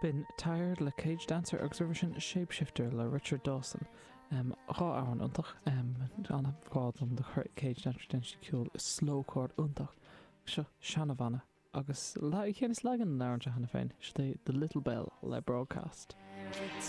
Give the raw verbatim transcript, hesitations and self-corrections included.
B'in Tired le Cage Dancer agus roimhe sin Shapeshifter le Richard Dawson. Um, dhá amhrán iontach um, an-ghrá dom do Cage Dancer déanann siad ceol slowcore iontach. Seo seanabhanna agus le cén is legan an amhrán cheana féin, sé The Little Bell le Broadcast.